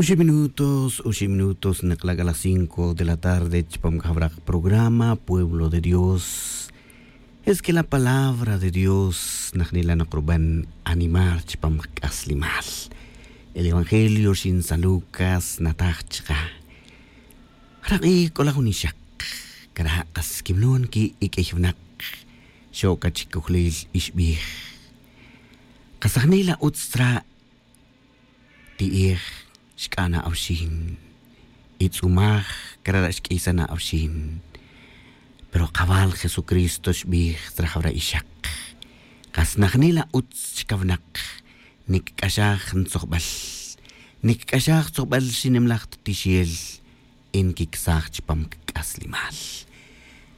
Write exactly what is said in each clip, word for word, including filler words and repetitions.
Oxib' minutos oxib' minutos nek'la' k'a las cinco de la tarde chupam k'ajwra' programa pueblo de dios. Es que la palabra de dios najnila' noq ruban animar chupam qak'aslimal. El evangelio rixin san lucas nataj chaqa'. Jara' q'ij k'ola' jun ixaq kara' qas kimlon ki' ik'ey winaq. Xo'ka chikojlil ixb'ij qasajnila' utz tzra' ti'ej xk'ana' awxin. Itz'umaj kara' xk'iysan awxin. Pero qawal jesucristo xb'ij tzra' jawra' ixaq qas najnila' utz chkawnaq. Nikik'axaj ntzojb'al nikik'axaj tzojb'al xinimlaj ttixel. Nkiksaj chupam kk'aslimal.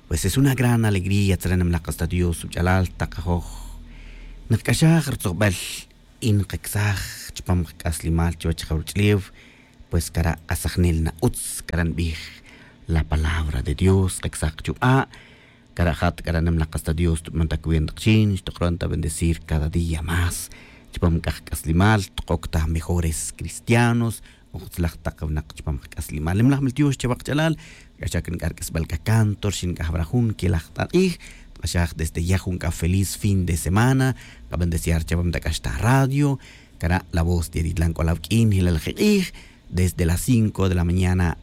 Pues es una gran alegría tzra' nimlaj qas ta dios ruch'alal taqajoj. Nqk'axaj rtzojb'al nqaksaj chupam qak'aslimal chuwech jawruch'lew. Pues kara' q'asajnel na utz kara' nb'ij la palabra de dios qaksaj qchuq'a'. Kara' jat kara' nimlaj qas ta dios tub'an ta cuenta qxin xtuqron ta bendecir cada día más. Chupam k'aj k'aslimal tuq'ok ta mejores cristianos. Utzlaj taq winaq chupam qak'aslimal nimlaj mil tiox chawaq ch'alal. K'axak nk'ar k'isb'al k'a canto rixin k'aj wara' jun kelaj t'aq'ij. K'axaj desde ya jun k'a feliz fin de semana. Qabendeciar chawam ta k'ax ta radio. Kara' la voz de ritlan k'ola' wk'in jilal jeq'ij desde las cinco de la mañana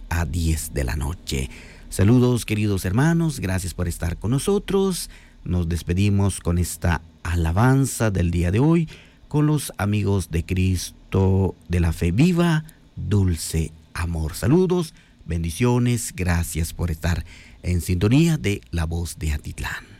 a diez de la noche. Saludos queridos hermanos, gracias por estar con nosotros. Nos despedimos con esta alabanza del día de hoy con los amigos de cristo de la fe viva. Dulce amor, saludos, bendiciones, gracias por estar en sintonía de la voz de atitlán.